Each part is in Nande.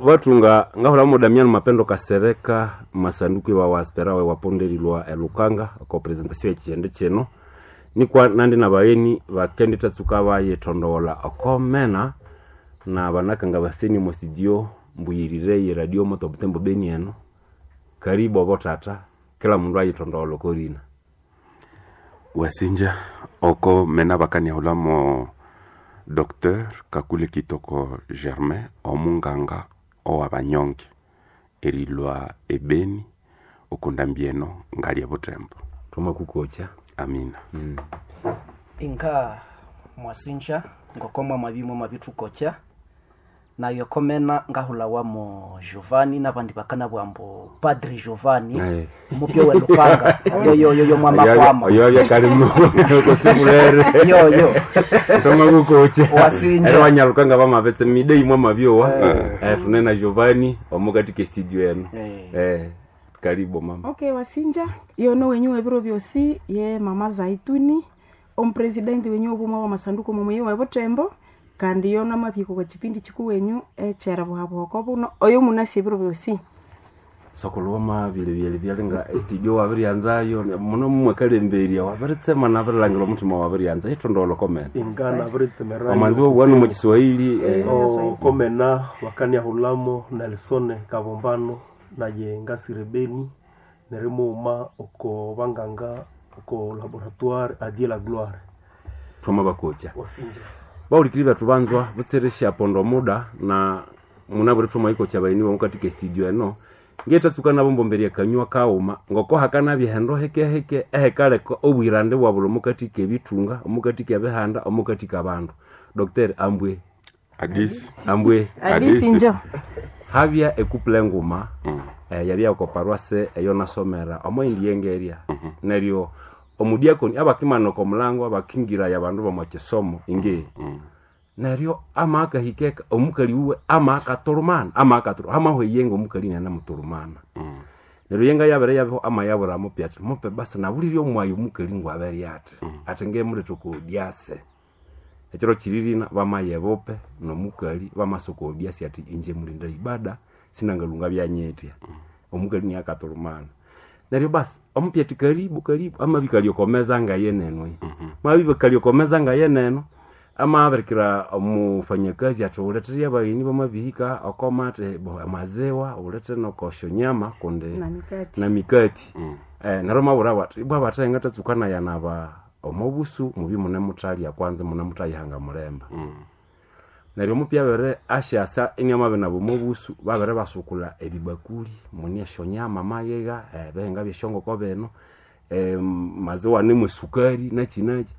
Vatunga ngahula mo Damiano Mapendo Kasereka masanduku wa waspera we waponderilwa elukanga ko presentation ekihende kino nikwa nandi na bagheni bakendi tatsuka bayitondola okomena na banakanga baseni mo studio mbuyirire ye radio moto butembo beni eno. Karibu abo tata, kila mundu ayitondola okorina. Wasinja oko mena bakaniahulamo Dr Kakule Kitoko Germain, omunganga owabanyonge erilwa ebeni okunda mbieno ngali ebutembo. Thoma kukocha. Amina. Inga mwasinja ngokoma mwabimwe mwabithukocha nayo komena ngahulawamo Giovanni nabandi bakana bwambo Padre Giovanni. Aye. Mupyo we lukanga yoyoyoyo mwamakwama. Oyo kalimu kosimulere. Yoyo. Thoma kukocha. Wasinja. Ero wanyalukanga bamabetse midei mwa mabyowa. Tunena Giovanni omukatika studio eno. Karibu mama. Okay, wasinja yono wenyu webiro byosi ye mama Zaituni omupresidenti wenyu obumwe wa masanduku mumuyi wa Butembo kandi yono amabiko kwa chipindi chiku wenyu echera buhabuhoko buno oyo munasi ebiro byosi. Sokoloma byele byele byalinga studio wabiryanzayo muno mumwekalemberia wabiritsema nabirilangira omutima wabiryanza itondolo komena. Ingana abiritsemerayo. Omanzi wobwanu mu Kiswahili. Komena wakaniahulamo Nelson Kabombano naye ngasire beni nerimuuma oko banganga oko laboratoire adie la gloire. Thoma bakocha. Wasinja. Baulikiri bethu banzwa butseresha pondo muda na munaburi thoma ikocha baini bamukatika studio eno ngetatsuka nabo mbomberia kanywa kauma ngoko hakanabya hendo hekeheke ehekaleka obwirande bwabula omukatika ebitunga, omukatika ebihanda, omukatika abandu. Dr Ambwe. Adisi. Ambwe. Adisi njo. Habya ekuple nguma. Yabya ko paroisse eyo nasomera omoindi yengeria. Neryo omudiakoni abakimana ko mulango abakingira ya bandu bamwa kisomo inge. Neryo amaka hikeka omukali uwe amaka turumana amaka turu amaho yenga omukali nana muturumana. Neryo yenga yabere yabeho amayabura mupya ati mupe basi nabuliryo omwayo omukali ngwabere ati ati ngemuleta ko diase. Ekiro kiririna bamaye bope nomukali bamasoko diase ati inje mulinda ibada sinangalunga byanyetya. Omukali ni akaturumana. Neryo basi omupya ati karibu karibu amabikalyokomeza nga yeneno. Mabikalyokomeza nga yeneno amabirikira omufanyakazi ati uletere abagheni bamabihika okoma ati bo amazewa ulete nokosho nyama kundi Na mikati. Na mikati. Neryo mabura bati ibwa bathenga tatsukana yanaba omobusu mubi mune muthalya kwanza mune muthayihanga mulemba. Neryo omupya abere asyasa iniamabe nabo omobusu babere basukula ebibakuli mune esyonyama mayegha, ebihinga byesyongoko bino, maziwa anemu esukari nakyi nakyi.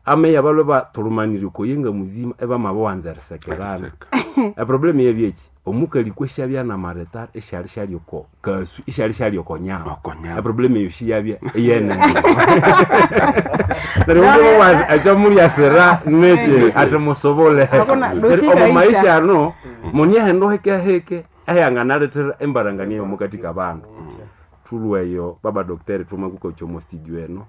Ameya balwe batulumanire okoyenga muzima ebamabawanza erisekerana. Eriseka. Eproblemu yebyeki omukali kweshabya namaretare esyali syali oko kasu esyali syali oko nyama. Oko nyama. Eproblemu eyo shiyabya eyene. Neryo omuwa ekyomulyasira neki ati musobole. Hakuna, Neryo dosika omu isha. maisha ano munyehendo hekeheke eyanganalethera embarangania yomukatika abandu. Thulweyo baba dokteri thuma kukocha omo studio eno.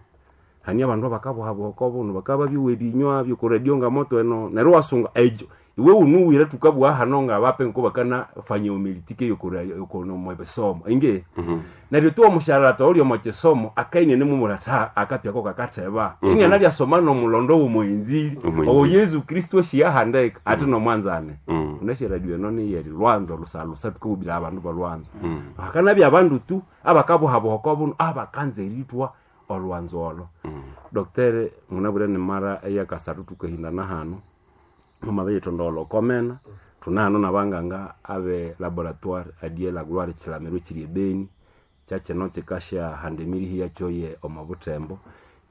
Hani abandu abakabuhabuhaka obuno bakaba byuwa ebinywa byokuradio nga moto eno neryo wasunga ejo iwe unuwire tukabugha hano nga bape nko bakana fanya omilitike yokono mwebisomo inge. Neryo tu omusharata oli omo kisomo akaine nimumurata akapyako kakatheba. Inge nalyasoma nomulondo w'omuinzili. Omuinzili. Owo Yesu Kristo shiyahandeka ati nomwanzane. Uneshe radio eno niyeri lwanzo lusalusa tukubira abandu balwanzo. Akanabya abandu tu abakabuhabuhaka obuno abakanza eritwa olwanzo olo. Doktere munabure ni mara eyakasathu tukahindana hano mumabeyithondolha okomena thunahano nabanganga abe laboratoire adie la gloire kilamiro kiri ebeni kyakino kikasyahanda emirihi yakyo ye omo butembo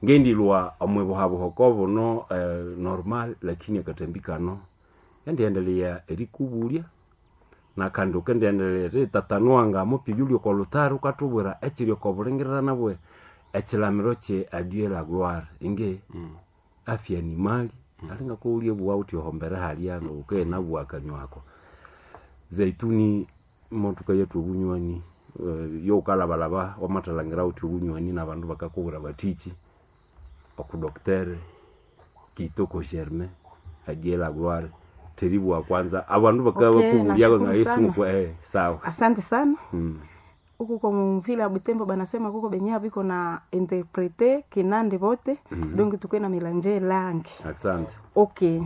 ngendilwa omwibuhabuhoko buno, normal lakini akatambi kano endiendelea erikubulya nakandi ukendiendelea eritatanua nga mupya yuli oko lutari ukathubwira ekiri oko bulingirirana bwe ekilamiro kye adie la gloire inge. Afya ni mali alinga kuulya buwa uthi ohombere halya ukenabuwa akanywako zaituni motuka yetu obunywani, yokalabalaba wamathalangira uthi obunywani nabandu bakakubwira batiki oku docteur Kitoko Germain adie la gloire. Teribu wa kwanza abandu Okay, bakabakubulya nga nashukuru Yesu sana. mukwe sawa. Asante sana. Huku kwa mvile ya Butembo banasema kuko benye biko na interprete kinande bote. Donc tukwe na melanje langue. Asante. Ok,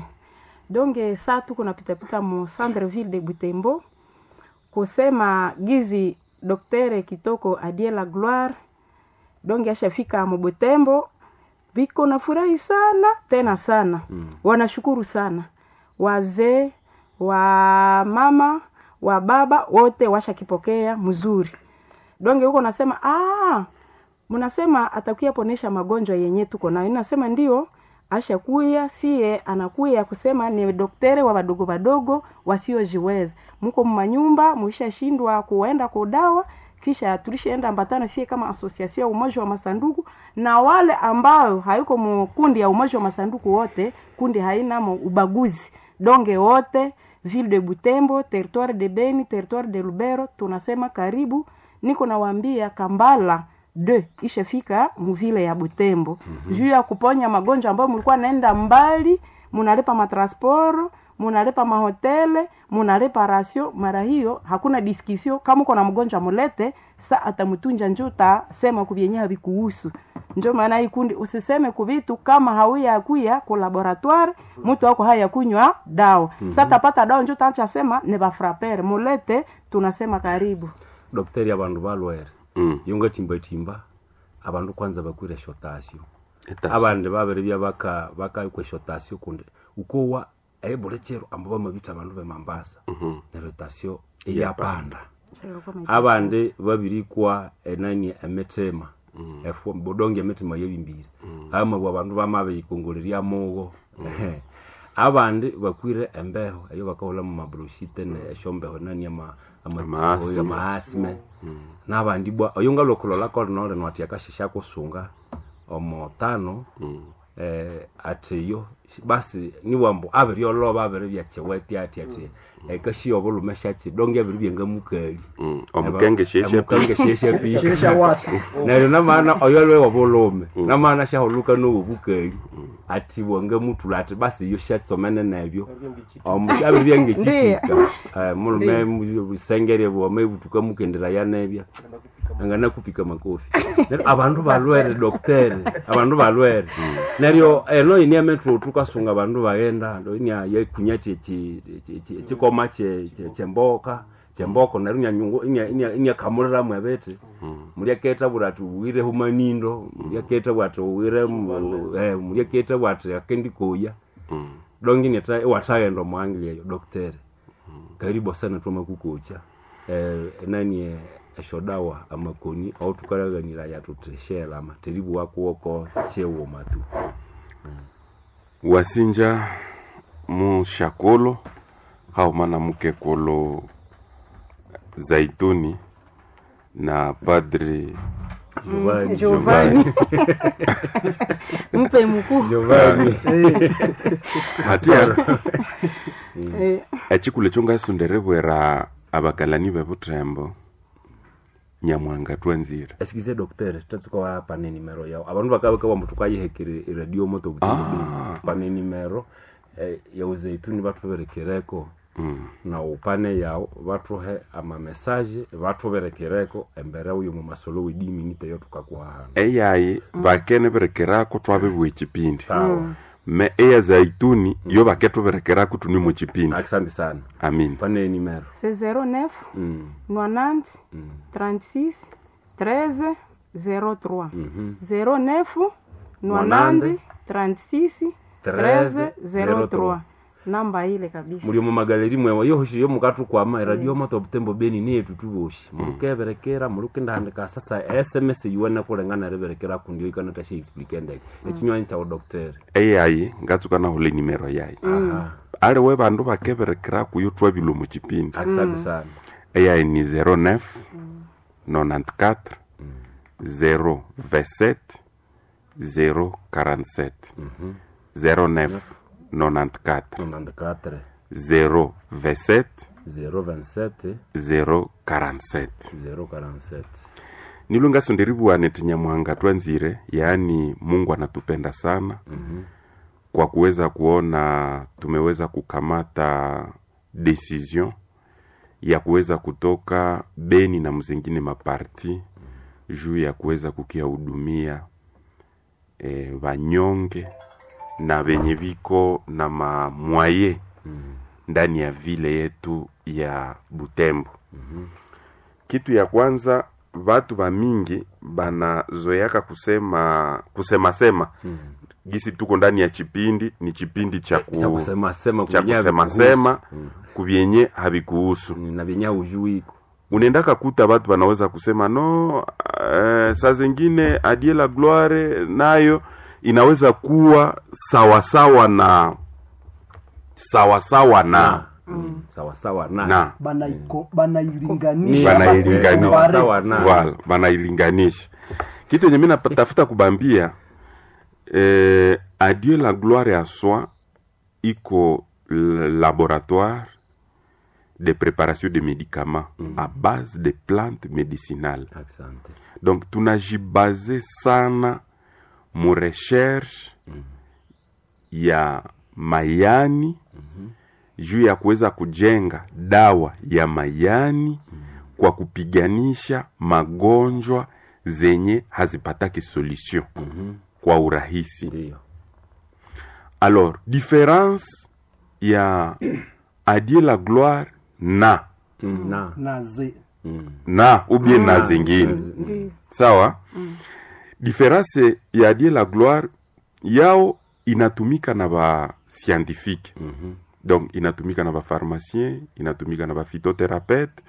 donc saa tuko napitapita mu centre ville de Butembo kusema gizi Docteur Kitoko Adie la Gloire donc ashafika mu Butembo, biko na furahi sana tena sana. Wanashukuru sana wazee wa mama wa baba wote washakipokea mzuri. Donge huko nasema ah, mnasema atakuya ponesha magonjwa yenye tuko nayo. Nasema ndio ashakuya, siye anakuya kusema ni doktere wa wadogo wadogo wasiojiweza, muko mumanyumba muishashindwa kuenda kudawa, kisha tulishaenda ambatana sie kama association ya umoja wa masanduku na wale ambao hayuko mukundi ya umoja wa masanduku wote, kundi haina mo ubaguzi donge wote ville de Butembo, territoire de Beni, territoire de Lubero, tunasema karibu. Niko nawaambia Kambala de ishafika muvile ya Butembo juu ya kuponya magonjwa ambayo mlikuwa naenda mbali, munalipa matransport, munalipa mahotele, munalipa rasio. Mara hiyo hakuna discussion, kama uko na mgonjwa mulete, sa atamtunja njo utasema kubyenye havikuhusu. Njo maana hii kundi usiseme kuvitu kama hauya kuya ku laboratoire mtu wako haya kunywa dawa. Sa tapata dawa njo utaanza sema ni bafrapere mulete, tunasema karibu. Dokteri abandu balwere yonga timba timba abandu kwanza bakwire shotasio abandi babere bya baka baka kwe shotasio kundi ukowa ebulechero ambo bamabita abandu be Mambasa neryo tasio eyapanda abandi babirikwa enani emitema efu bodonge emitima yebimbire ama abandu bamabiyikongolerya mugo abandi bakwire embeho eyo bakahola mu mabroshite ne eshombeho nani ama Amaasime. amaasime nabandi bwa oyo ngalokulola kolinole nwati akashesha kusunga omotano atiyo basi niwambu abirioloba abiri byakyeweti ati ati ekashiya obulume shaki donge abiri byengamukali Omukenge sheshe omukenge sheshe pi Sheshe wata. neryo namaana oyo lwe wobulume namaana shahuluka nowobukali ati bwangamutula ati basi iyo shatsomene nebyo abiri byangekitika mulume busengere bwama ibutuka mukendera yanebya anganakupika makofi neryo abandu balwere doktere abandu balwere neryo eno ini emethu tukasunga abandu baghenda ndo inia yekunya chikoma chemboka chemboko neryo inyanyungu inyakamuliramu ebiti mulyaketha bwira ati uwire humanindo mulyaketha bwira ati uwire mulyaketha bwira ati akendikoya dongi neta iwathaghenda omwangili eyo doktere karibu sana twamakukocha nani eshodawa amakoni autukalaghanira yatutheshela amateribu wakuwoko chewoma tu Wasinja mushakolo hauma na mukekolo Zaituni na Padri Giovanni. Giovanni. Mpe mkuu. Giovanni. Hatia Echikulu ekyo ngasonderebwera abakalani b'ebutembo Nyamuhanga twanzire. Esikize docteur tatsuka wa pane nimero yao abandu bakabaka bambu tukayihekere radio moto butembo pane nimero ya uzeituni bathuberekereko na upane yao bathuhe ama message bathuberekereko embere uyo mu masolo wediminite yo tukakuhahana Eyayi bakene berekerako twabibwa ekipindi sawa me eya zaituni yo bakethuberekerako tuni mu kipindi. Asante sana. Amin. Pane nimero C'est 09 90 36 13 03. 09 90 36 13 03. Namba ile kabisa. Muri mu magaleri mwewa yohoshi yo mukatukwama radio moto butembo beni niye tutuboshi murukeberekera murukendahandika sasa sms yuwene kulengana riberekera kundi ikana tashi explique ndeke ekinywanyi kyawo docteur Eyayi ngatsuka nahula enimero yayi. Aha. Aliwe bandu bakeberekerako yo twabilwa mu kipindi. Asante sana. Eyayi ni 09 94 027 047 09 94 94 027 027 047 047. Nilo ngasonderibwa neti Nyamuhanga twanzire, yaani Mungu anatupenda sana. kwa kuweza kuona tumeweza kukamata decision ya kuweza kutoka Beni na mzingine maparti juu ya kuweza kukiahudumia vanyonge na venye viko na mamwaye ndani ya vile yetu ya Butembo. Kitu ya kwanza vatu va mingi banazoeaka kusema kusema sema gisi tuko ndani ya chipindi ni chipindi cha ku, Cha kusema sema cha kunyavi kusema kuhusu. sema kubyenye havikuhusu Na vyenye ujuiko. unaendaka kuta batu banaweza kusema no saa zingine Adie la Gloire nayo inaweza kuwa sawasawa na sawasawa na Sawa sawa na. na Banailinganisha Banailinganisha. Compare. Sawa na. Voilà, banailinganisha kitu yenye mi natafuta kubambia Adieu la gloire ya soi iko laboratoire de préparation de médicaments à base de plantes médicinales. Asante. Donc tunajibaze sana mu recherche ya mayani juu ya kuweza kujenga dawa ya mayani kwa kupiganisha magonjwa zenye hazipataki solution kwa urahisi. Ndiyo. Alors, différence ya Adieu la gloire na Na. na ze na ou bien na zingine Ndiyo. sawa. Différence ya Adieu la gloire yao inatumika na ba scientifique donc inatumika na bapharmacien, inatumika na baphytothérapeute,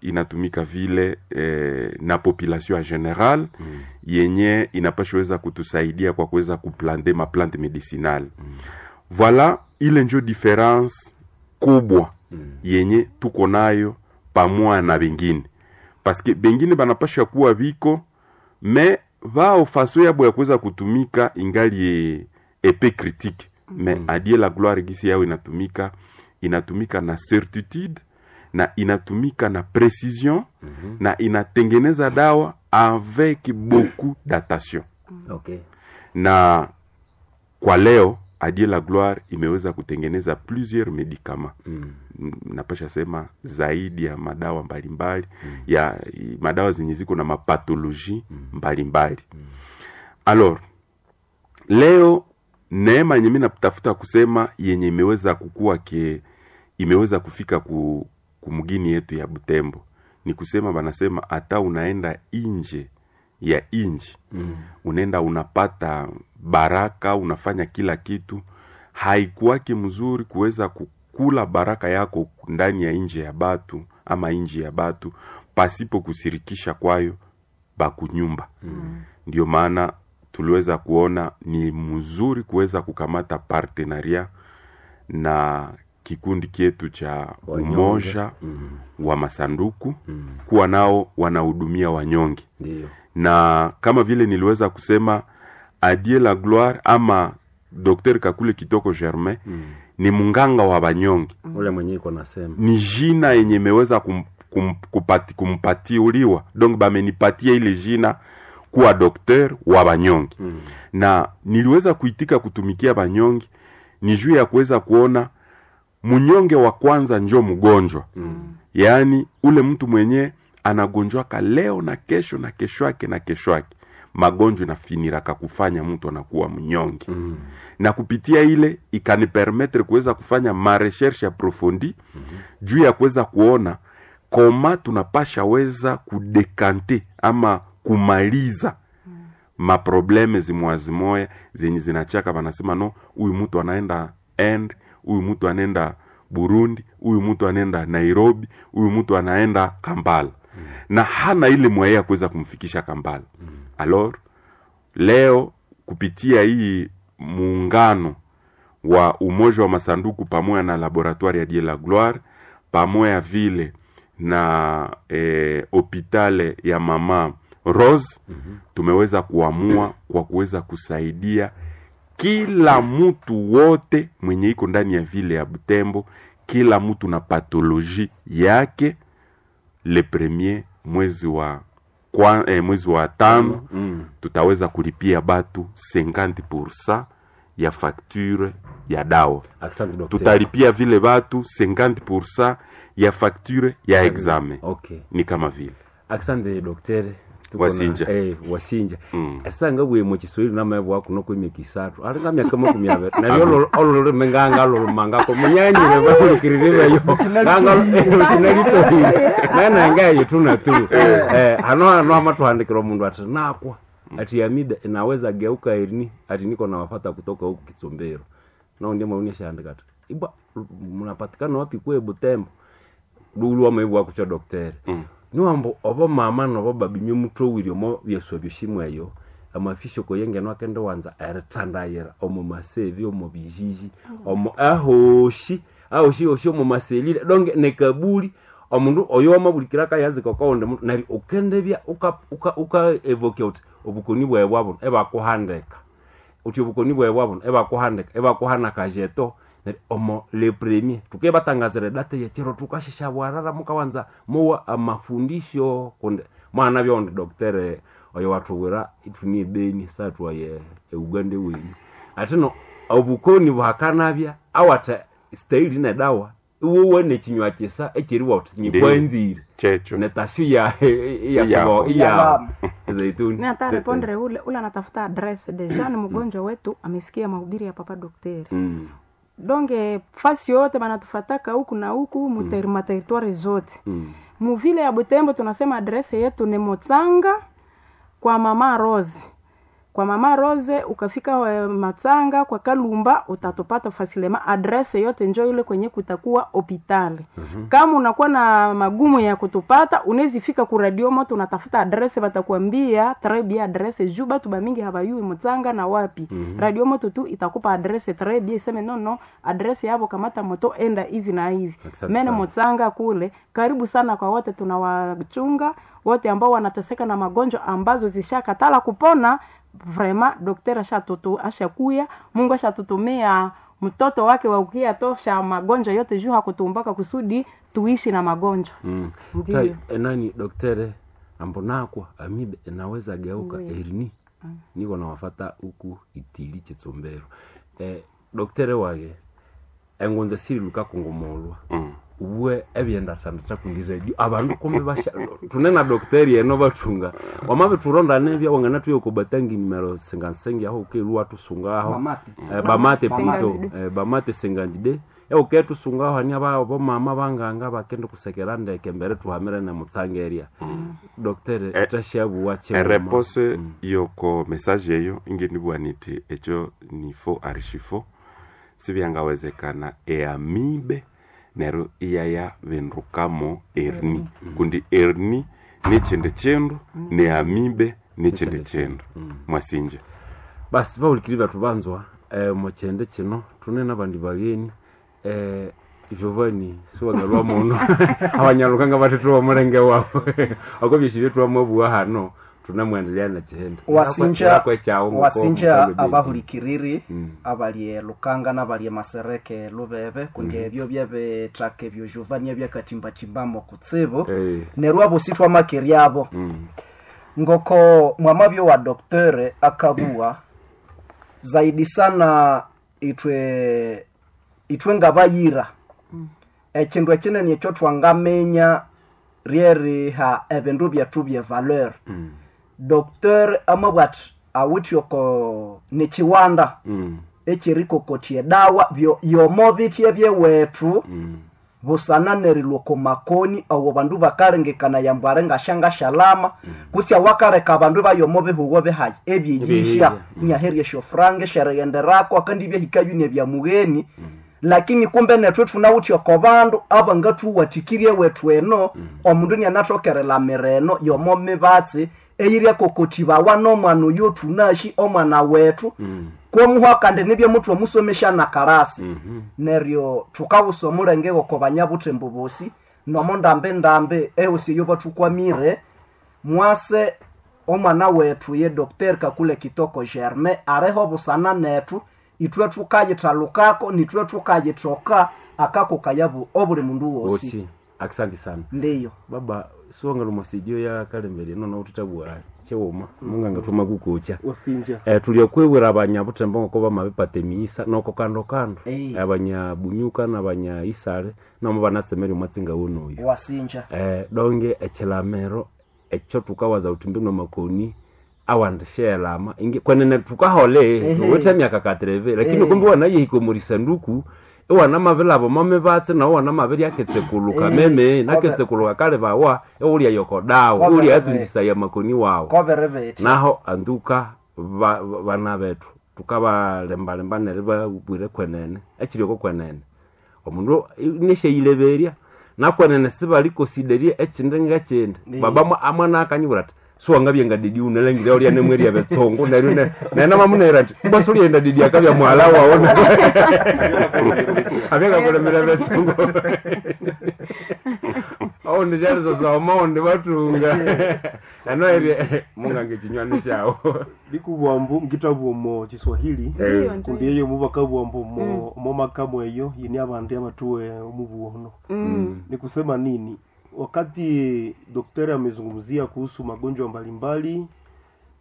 inatumika vile na population en général yenye inapashweza kutusaidia kwa kuweza kuplante maplante medicinale. Voilà ile njo différence kubwa yenye tuko nayo pamoja na bengine, paske bengine banapasha kuwa viko me vao faso yabo ya kuweza kutumika ingali epe critique me Adie la gloire gisi yao inatumika inatumika na certitude na inatumika na precision na inatengeneza dawa avec beaucoup d'attention. Okay. Na kwa leo Adie la gloire imeweza kutengeneza plusieurs medicaments. Napasha sema zaidi ya madawa mbalimbali ya madawa zenye ziko na mapatologie mbalimbali. Alors leo neema yenye mi natafuta kusema yenye imeweza kukua ke imeweza kufika kumugini yetu ya Butembo ni kusema, banasema hata unaenda inje ya inji unaenda unapata baraka, unafanya kila kitu, haikuwake mzuri kuweza kukula baraka yako ndani ya inje ya batu ama inji ya batu pasipo kusirikisha kwayo bakunyumba. Ndio maana tuliweza kuona ni mzuri kuweza kukamata partenaria na kikundi kietu cha Wanyonge. umoja wa masanduku kuwa nao wanahudumia wanyonge Ndiyo. na kama vile niliweza kusema Adie la gloire ama Dr Kakule Kitoko Germain ni munganga wa banyonge, Ule mwenye iko nasema. ni jina yenye imeweza kumpatiuliwa donc bamenipatia ile jina kuwa dokter wa banyonge na niliweza kuitika kutumikia banyonge ni juu ya kuweza kuona munyonge wa kwanza njo mgonjwa yaani ule mtu mwenye anagonjwaka leo na kesho na kesho yake na kesho yake magonjwa inafiniraka kufanya mtu anakuwa mnyonge na kupitia ile ikanipermetre kuweza kufanya mareshershe aprofondi juu ya kuweza kuona koma tunapasha weza kudekante ama kumaliza maprobleme zimoya zenye zinachaka wanasema no, huyu mtu anaenda end, huyu mtu anaenda Burundi, huyu mtu anaenda Nairobi, huyu mtu anaenda Kampala na hana ile mwaye ya kuweza kumfikisha Kampala. Alors leo kupitia hii muungano wa umoja wa masanduku pamoja na laboratoire ya Dieu la Gloire pamoja vile na hopitale ya mama Rose tumeweza kuamua kwa kuweza kusaidia kila mtu wote mwenye iko ndani ya vile ya Butembo, kila mtu na patologie yake. Le premier mwezi wa mwezi wa tano tutaweza kulipia batu 50% ya facture ya dawa. Asante docteur. Tutalipia vile batu 50% ya facture ya examen. Okay. Ni kama vile Asante docteur. Tuko na- Wasinja. Wasinja. Mm. Esanga bwe mu Kiswahili namebwa kuno kwemyaka isathu ali nga myaka 20 nabyo olulimi nganga lulumangako munyanyire bahulikirire beyo nganga lukinalitohire nananga eyo tuna tu hano hano amatuhandikira omundu ati nakwa ati amibe inaweza geuka erini ati niko nawafata kutoka huku Kitsombero nao ndiye mauni ashaandika ati ibwa mnapatikana wapi kwe Butembo lulu wamaibu wakucha dokteri niwambo obo mama nobo babi myomutowire omo byeswa byoshimwe eyo amafisho koyengeno akende wanza eritandayira omo masevi omo bijiji omo ahoshi ahoshi oshi omo maselile donge nekabuli omundu oyo wamabulikira akayazika okawundi mundu neryo ukendebya uka uka uka evoke uti obukoni bwawe bwabuno ebakuhandika uti obukoni bwawe bwabuno ebakuhandika ebakuhana kajeto neryo omo le premier tuke batangazira date yekiro tukashesha bwarara mukawanza muwa amafundisho kundi mwana byondi doktere oyo wathuwira ithuni ebeni sathuwaye euganda wenyu atino obukoni bwakanabya awathe staili nedawa iwowe nekinywa kisa ekyeriwa uthi nyikwanzire checho netasio ya Iyabo. iya zaituni Ni hata répondre ule ule anatafuta adresse deja ni mgonjwa wetu amesikia mahubiri ya papa daktari donge fasi yote banatufataka huku na huku muteri materitoire zote muvile ya Butembo tunasema adrese yetu ni Motsanga kwa mama Rose. Kwa mama Rose ukafika Matsanga kwa Kalumba utatupata fasilema. Adrese yote njo ile kwenye kutakuwa hopitali. Kama unakuwa na magumu ya kutupata unaweza fika ku radio moto unatafuta adrese batakwambia très bien adrese juu batu bamingi habayui Mutsanga na wapi. Radio moto tu itakupa adrese très bien iseme no no adrese yabo kamata moto enda hivi na hivi. Asante Mene sana. Mutsanga kule karibu sana kwa wote tunawachunga wote ambao wanateseka na magonjwa ambazo zishakatala kupona vraiment daktari ashatutu ashakuya Mungu ashatutumia mtoto wake wa ukia tosha magonjwa yote juu hakutumbaka kusudi tuishi na magonjwa Ndiyo. Tai, enani doktere ambonakwa amibe inaweza geuka erini niko nawafata huku itili chitsombero doktere wage engonza siri lukakungumulwa uwe ebyendatandata kundi radio abandu kumbe basha tunena dokteri eno bathunga wamabe turonda nebya wangana tuye kubatangi nimero sengansengi aho ukeluwa tusunga aho Bamate. bamate Bamate. plutôt bamate sengandide euke tusunga aho ani aba bomama banganga bakende kusekera ndeke mbere tuhamire ne mutsangeria doktere tashabuwa chema ereponse yoko message eyo ingenibwa niti echo ni faux archi faux sibyangawezekana eamibe neryo iyaya bindukamo erni kundi erni nichindi chindu neamibe nichindi chindu mwasinja basi baulikiri bathu banzwa muchende chino tune nabandi bageni Giovanni siwangalwa muno abanyalukanga bathu mulenge wabo ako byeshibye twamwabuwa hano tunamwendelea na chihendo wasinja wasinja abahulikiri abahulikiriri abalye lukanga n'abalye masereke lubebe kundi ebyo byebithaka ebyo Giovanni ebyakatimbatimbamu kutsibu neryo abo sithwamakeryabo ngoko mwamabyo wa doktere akabuwa zaidi sana itwe itwe ngabayira ekindu ekinene ekyo twangaminya ryeriha ebindu byethu bye valeur dokter amabwa ati awithe oko nikiwanda ekyerikokotya edawa byo yomo bitye byewethu busana nerilwa oko makoni awo bandu bakalengekana yambu ali ngashangashalama kutsi awakaleka abandu bayomo bihugo bihayi ebyeyihya inyaherya esyofuranga esyerighenderako akandi ibyahikayo nebya mugheni lakini kumbe nethu thunawithe oko bandu abangathuwathikirye ewethu eno omundu nianathokerelamira eno yomo mibatsi eyiryakokotibawa nomwana oyo thunashi omwana wethu kwomuhwa kandi nibye muthu omusomesha na karasi neryo thukawusa omulenge goko banyabuthembo bosi nomo ndambi ndambi ehosi eyo bathukwamire mwase omwana wethu ye Dr. Kakule Kitoko Germain areho busana nethu ithwe thukayithalukako nithwe thukayithoka akakokayabu obuli mundu wosi wosi asante sana ndiyo baba siwangalwa masidio ya kalembere nono uthitabua Chiwuma munganga thuma kukucha. Wasinja. Tuli okwibwira abanyabutembo ngoko bamabipata emighisa noko kando kando. Eh. Abanyabunyuka n'abanyaisale namo banatsemera omwatsinga wonoyo. Wasinja. Donge ekilamiro ekyo tukawaza uthi mbino makoni awandishelama ingi kwenene tukahole Ehe. tuwithe emyaka katreve lakini Eh. kumbe wanayihika omurisanduku iwana mabilaba omomibatsi nawo wana mabiryaketsekuluka Eh. meme naketsekuluka kale bawa iwulya yokodawo Kobe- iwulya yatunzisaya makoni wawo Kobere bethi. naho anduka bana bethu tukabalembalemba neryo babwire kwenene ekirioko kwenene omundu neshayileberya nakwenene sibalikosiderya ekindi ngekindi baba amwana akanyibwira ati siwangabya nga didi unalangire ulya nemwerya betsungu neryo nenamamunera ati mbwa sulyenda didi akabya muhala wawo abyakakulemera betsungu oundi syalisosoma oundi batunga nano eri mungange chinywani kyawo Likubwambu ngitabwa omo Kiswahili. Ndiyo, Kundi ndiyo. eyo mubakabwambu omo omo makamu eyo yini abandi abatuwe omubuono. Ni kusema nini? Wakati daktari amezungumzia kuhusu magonjwa mbalimbali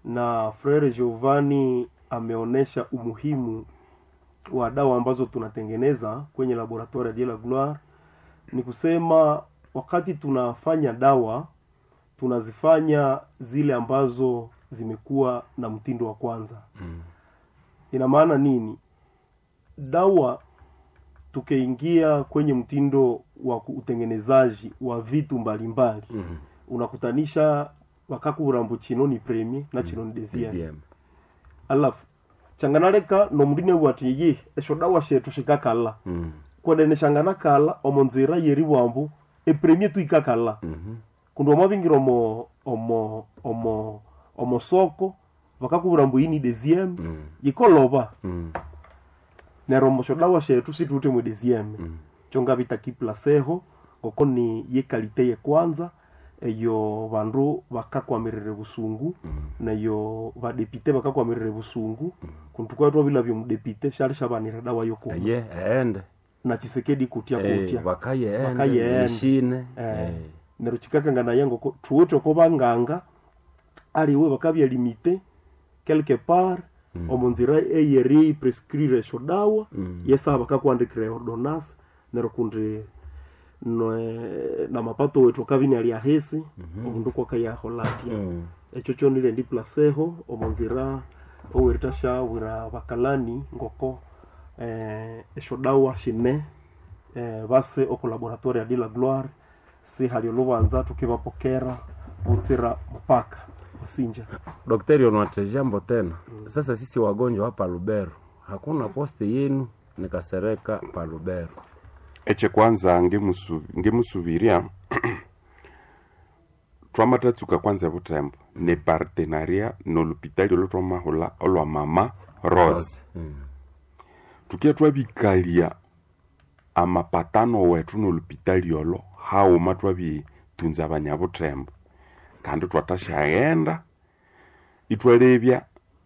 na Frere Giovanni ameonyesha umuhimu wa dawa ambazo tunatengeneza kwenye laboratoire ya la Gloire, ni kusema wakati tunafanya dawa tunazifanya zile ambazo zimekuwa na mtindo wa kwanza. Ina maana nini? Dawa tukiingia kwenye mtindo wa utengenezaji wa vitu mbalimbali unakutanisha wakakurambu chino ni premier na chino ni deuxième alafu changanaleka nomuline bwati ye esho dawa shetu shikakala kwenene shanganakala omo nzira yeri bwambu epremier tu ikakala kundi wamabingira omo omo omo omo soko vakakubura mbu iyi ni deuxième yikoloba neryo omo dawa shetu situte mu deuxième kyongabita kiplaseho ngoko ni yekalite yekwanza eyo bandu bakakwamirire busungu neyo badepite bakakwamirire busungu kundu tukaba twabilabya omudepite syali syabanira dawa yokuma ye ende na Tshisekedi kutya kutya bakaye Bakaye ende ishine neryo kikakangana ngoko thuwithe oko banganga aliwe bakabya limite quelque part omo nzira eyeri prescrire esyo dawa yesaha bakakuhandikira ordonnance neryo kundi namapato wethu akabya inali ahisi omundu kwakayahola atya ekyo kyonile ndi placeho omo nzira oweritashyabwira bakalani ngoko esyo dawa shine base oku laboratoire ya de la gloire sihali olubanza tukibapokera butsira mpaka wasinja. Daktari onwate jambo tena. Sasa sisi wagonjwa hapa Lubero, hakuna poste yenu nikasereka pa Lubero. Eche kwanza ngemusubiria twamatatsuka kwanza butembo ne partenaria nolupitali olo twamahula olwa mama Rose. Tukia twabikalia amapatano wetu nolupitali olo hauma twabitunza abanyabutembo kandi twatashaghenda itwalebya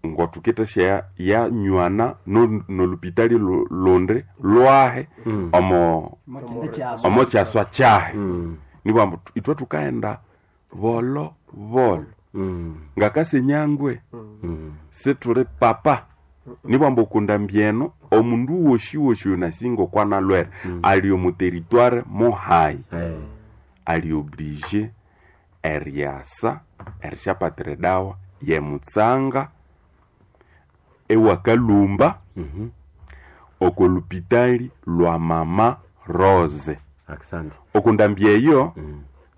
ngotukitashya yanywana nolupitali lundi lwahe omo omo kyaswa kyahe nibwambu itwe tukaghenda bolo bolo ngakasenyangwe situli papa nibwambu okunda mbyeno omundu woshi woshi onasinga okwanalwere ali omu territoire mohayi ali oblige eryasa erishapatira edawa yemutsanga ewakalumba oko lupitali lwa mama Rose. Asante. Okundambya eyo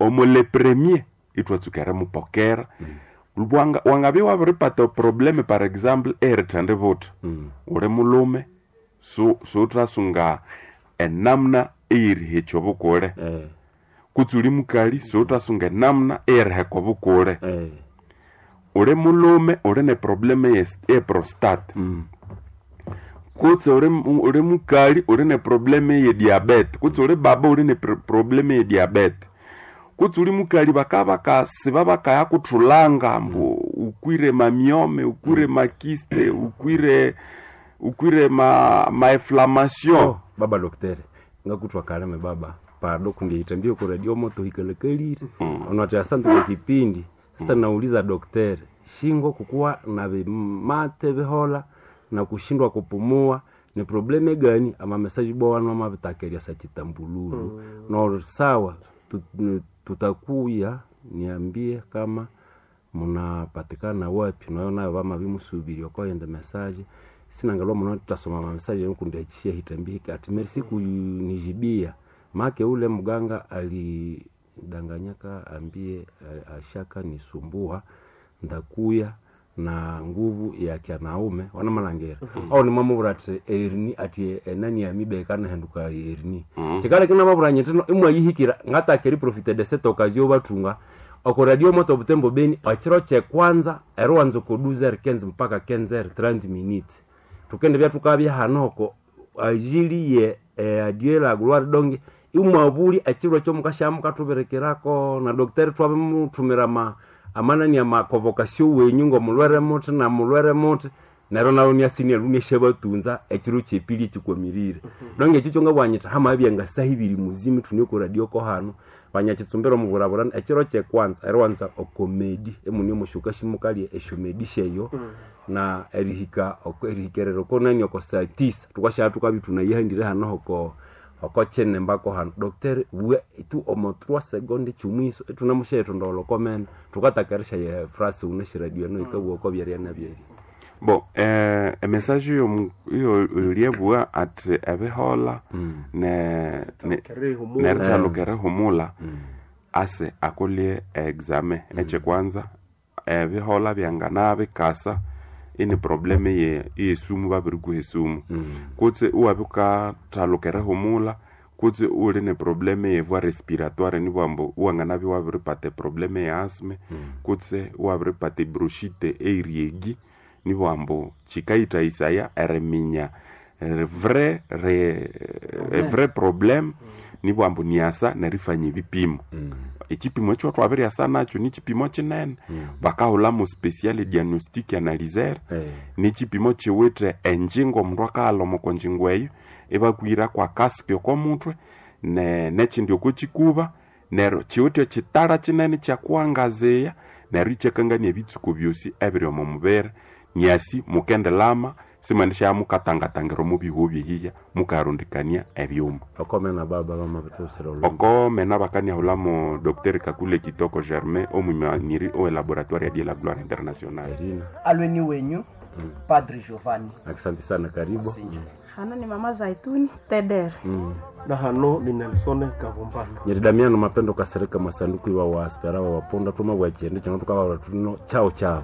omo le premier itwatsuka erimupokera wangabya wabiripata probleme par exemple erithandi buthi uli mulume suuthasunga enamuna eyerihekya obukule kutse uli mukali suuthasunga enamuna eyeriheka obukule uli mulume uli ne probleme ye prostate kutse uli mukali uli ne probleme ye diabete kutse uli baba uli ne probleme ye diabete kutse uli mukali bakaba bakasiba bakayakuthulanga mbu ukwire mamyome ukwire makiste ukwire ukwire ma inflammation. Oh, baba doktere ngakuthwa kaleme baba pado kundiita mbio ku radio moto hikalekalire onati asante kwa kipindi. Sasa nauliza daktari, shingo kukuwa na vimate vihola na kushindwa kupumua ni probleme gani? Ama mesaji bwana mavitakeria sa chitambululu no sawa, tutakuya niambie kama munapatikana wapi nayo nayo vama vimusubiri okoyenda mesaje sinangalwa muno tutasoma mamesaje nkundiachishia hitambihika ati merci kunijibia make ule mganga alidanganyaka ambie ashaka nisumbua ndakuya na nguvu ya kyanaume wanamalangera au nimwamubura ati erini ati enani yamibekana henduka erini chikala kinamabura nyetino imwayihikira ngatakeri profite de cette occasion batunga oko radio moto butembo beni achiro che kwanza eruwanza ko 12h15 mpaka 15h30 minutes tukende bya tukabya hanoko ajili ye adieu la gloire donge imwabuli achiro cho mukashamu katuberekerako na daktari twabimutumira ma amanani ama convocation wenyu ngo mulwere muti na mulwere muti nero nawo niasinia luneshe batunza echiro chepili chikwamirire donge echo chonga bwanyita hama byenga sahibiri muzimi tunio ku radio ko hano banyachitsumbira omuburaburana echiro chekwanza eriwanza okomedi emuni omushuka shimukalie eshomedi sheyo na erihika erihikerero konani oko saa tisa tukashaa tukabi tunayihandire hano hoko oko chenembako hano docteur we tu omo 3 seconde chumwiso etunamusheto ndolo komena tukatakarisha ye frase uneshiradio no ikabuwa ko byaria na byeri bo emessage iyo iyo uliebua ati ebihola ne nerithalukere humula ase akolie exame echekwanza ebihola byangana bikasa ini probleme ye yesumu babirikuha esumu kutse iwabikathalukere humula kutse uli ne probleme ye voie respiratoire nibwambu iwanganabya iwabiripata eprobleme ya asthme kutse iwabiripata ebroshite eiriegi nibwambu chikaithaisaya eriminya vrai vrai problème nibwambu niasa nerifanya ebipimo ekipimo ekyo twabiryasa nakyo nikipimo kinene bakahulhamu special diagnostic analyzer nikipimo kiwithe enjingo omundu akaghalha oko njingo eyo ibakwira kwa kasiki oko muthwe nekindi oko kikuba neryo kiwithe ekitara kinene kyakuwangaziya neryo ikyakangania ebitsuko byosi ebiri omo mubiri nyasi mukendelama simwendisha mukatangatangira omu bihuo byehiya mukarundikania ebyuma okomena baba bamabitusira olumbe okomena bakaniahulamo dr kakule kitoko germain omwimaniri owe laboratoire ya die la gloire internationale Irina alweni wenyu padri giovanni asante sana karibu hano ni mama zaituni tedere na hano ni Nelson Kavumbano nyeri damiano mapendo kasereka masanduku iwa wa aspera wa waponda tuma bwachende chino tukababura tuno chao chao.